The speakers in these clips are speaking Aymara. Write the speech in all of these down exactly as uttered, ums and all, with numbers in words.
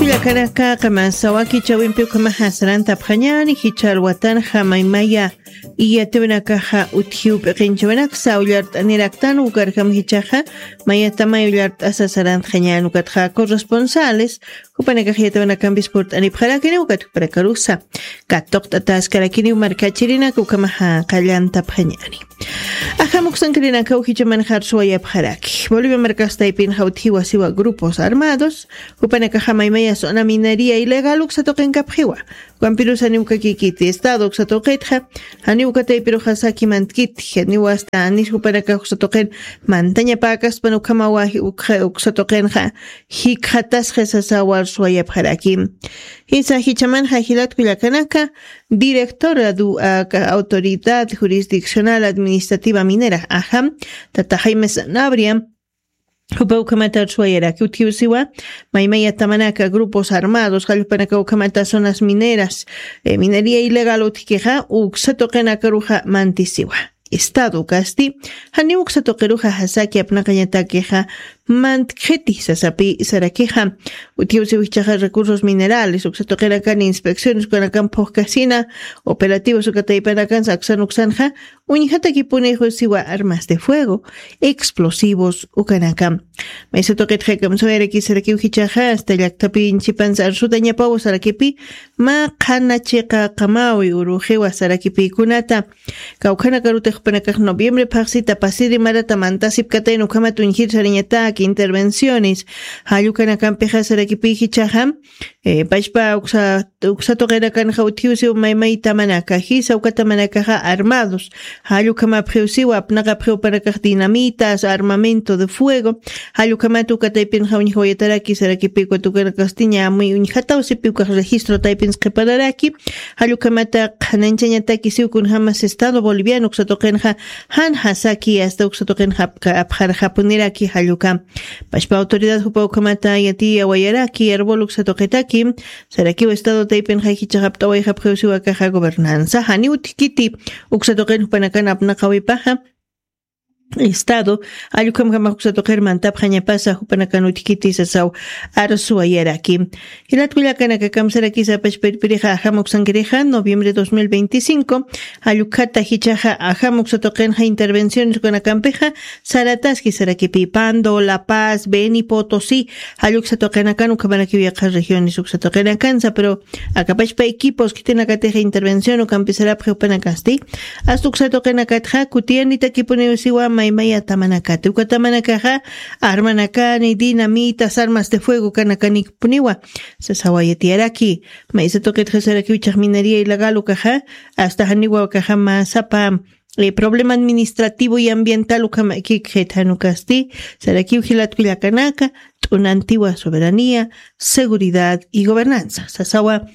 Kanaka qamasa wakichawimpi ukhamaxa sarantapxañäni jichha alwatanxa maymaya iyatiwinakaxa utjiw p'iqinchawinaksa ullart'aniraktan ukarjam jichhaxa mayatamay ullart'asa sarantxañän ukatxa corresponsales jupanakax iyatiwinakampis purt'anipxarakini ukat jupanakarusa katuqt'ataskarakiniw markachirinaka ukhamaxa qallantapxañäni. Ajam uksankirinakaw jichhamanxa arsuwayapxaraki bolivia markax taypinxa utjiwa siwa grupos armados jupanakaxa maymaya zona minería ilegal uksa tuqinkapxiwa. Ukampirus janiw ukakikiti estado uksa tuqitxa janiw ukataypiruxa saki mantkiti janiw asta anis jupanakax uksa tuqin mantañapäkaspan ukhamawa uksa tuqinxa jikxatasxa sasawa arsuwayapxaraki. Jisa jichhamanxa jilat kullakanaka directora du autoridad jurisdiccional administrativa minera ajam tata jaime sanabria jupa ukhamata arsuwayaraki utjiw siwa maymaya tamanaka grupos armados jallpanaka ukhamata zonas mineras minería ilegal utjkixa uksa tuqinakaruxa mantisiwa. Estado ukasti janiw uksa tuqiruxa jasaki apnaqañatakixa mantkxiti sasapi sarakixa utjiw siwa jichhaxa recursos minerales uksa tuqinakan inspecciones ukanakan phuqkasina operativos uka taypanakan saksan uksanxa uñjatakipuni jusiwa armas de fuego explosivos ukanaka. Maysa tuqitxa kamsawayarakisarakiw jichhaxa asta llaktapi inchipansa arsutañapaw sarakipi mä qhana chiqa qamawi uruxiwa sarakipïkunata kawkhanakarutix jupanakax noviembre phaxsita pasiri marata mantasipkatayna ukhamat uñjir sarañatäki intervenciones jallukanakampixa sarakipï jichhaxa pachpa uksa tuqinakanxa utjiw siw maymay tamanaka jisa uka tamanakaxa armados jallukhamapxiw siw apnaqapxiw panakax dinamitas armamento de fuego jallukhamat uka taypinxa uñjawayataraki sarakipï uka tuqinakastiña amuy uñjataw sipi ukax registro taypins qhipanaraki jallukhamata qhananchañataki siw kunjämas estado boliviano uksa tuqinxa jan jasaki asta uksa tuqinxa apxarxapuniraki jallukam pachpa autoridad jupa ukhamata yatiyawayaraki arbol uksa tuqitaki sarakiw estado taypinxa jichhax apt'awayxapxiw siw akaxa gobernanza janiw utjkiti uksa tuqin jupanakan apnaqawipaxa estado jallukhamjamax uksa tuqir mantapxañapasa jupanakan utjkiti sasaw arsuwayaraki. Jilat kullakanaka kamsarakisa pachpa irpirixa ajam uksankirixa noviembre dos mil veinticinco jallukata jichhaxa ajam uksa tuqinxa intervenciones ukanakampixa sarataski sarakipï pando la paz beni potosí jalluksa tuqinakan ukhamarakiw yaqha regiones uksa tuqinakansa pero akapachpa equipos khitinakatix intervención ukampisarapxi jupanakasti asta uksa tuqinakatxa kutiyanitakipunïw siwa maymaya tamanakati uka tamanakaxa armanakani dinamitas armas de fuego kanakanikpuniwa sasawayatiyaraki. Maysa tuqitxa sarakiw jichhax minería ilegal ukaxa asta janiwa ukaxa mä sapa problema administrativo y ambiental ukhamakikxit janukasti sarakiw jilat kullakanaka t'unantiwa soberanía seguridad y gobernanza sasawa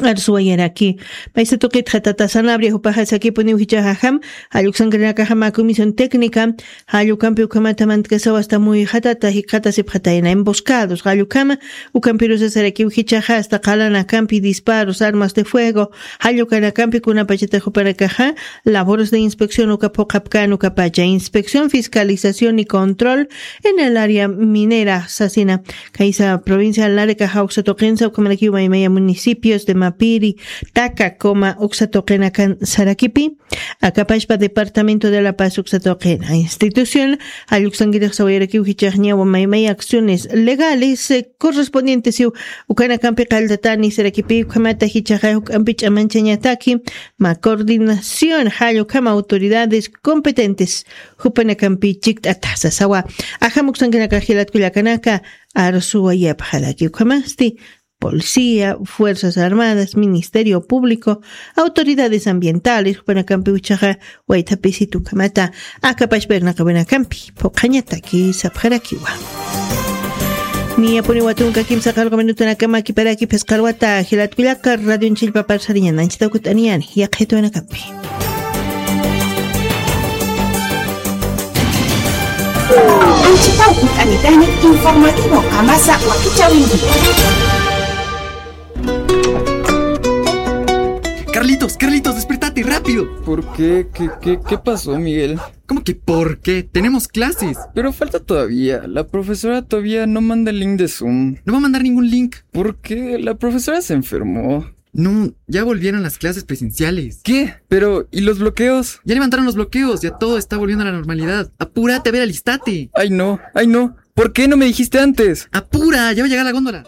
arsuwayaraki. Maysa tuqitxa tata sanabria jupaxa sakipuniw jichhaxajam jalluksankirinakaxama comisión técnica jallukampi ukhamata mantkasaw asta muyxatata jikxatasipxatayna emboscados jallukhama ukampirusa sarakiw jichhaxa asta qalanakampi disparos armas de fuego jallukanakampi kunapachata jupanakaxa labores de inspección uka phuqhapkän ukapacha inspección fiscalización y control en el área minera sasina. Kaysa provincia larga jawksa tuqinsa ukhamanakiw maymaya municipios de mapiri taka coma uksa tuqinakan sarakipi akapashpa departamento de la paz uksa tuqina institución jalluksankirix sawayarakiw jichhaxñawa maymaya acciones legales correspondientes iw ukanakampi qalltatani sarakipi ukhamata jichhaxa juk'ampi ch'amanchañataki ma coordinación jallukhama autoridades competentes jupanakampi chikt'ata sasawa. Ajam uksankinaka jilat kullakanaka arsuwayapxaraki ukhamasti policía fuerzas armadas ministerio público autoridades ambientales jupanakampi uchaxa waythapisit ukhamata akapashpa irnaqawinakampi phuqhañataki sapxarakiwa. Niyapuniwa tunka kimsa qalqa minutanakama kiparaki phisqa alwata jilat kullaka radionchillpapar sariñananchita ukut'aniyani yaqhituwinakampi. Anchitaw kut'anitani informativo qamasa wakichawinki. Carlitos, Carlitos, despertate, rápido. ¿Por qué? ¿Qué, qué, qué pasó, Miguel? ¿Cómo que por qué? Tenemos clases. Pero falta todavía. La profesora todavía no manda el link de Zoom. No va a mandar ningún link. ¿Por qué? La profesora se enfermó. No, ya volvieron las clases presenciales. ¿Qué? Pero, ¿y los bloqueos? Ya levantaron los bloqueos, ya todo está volviendo a la normalidad. Apúrate, a ver, alistate. Ay, no, ay, no. ¿Por qué no me dijiste antes? Apura, ya va a llegar la góndola.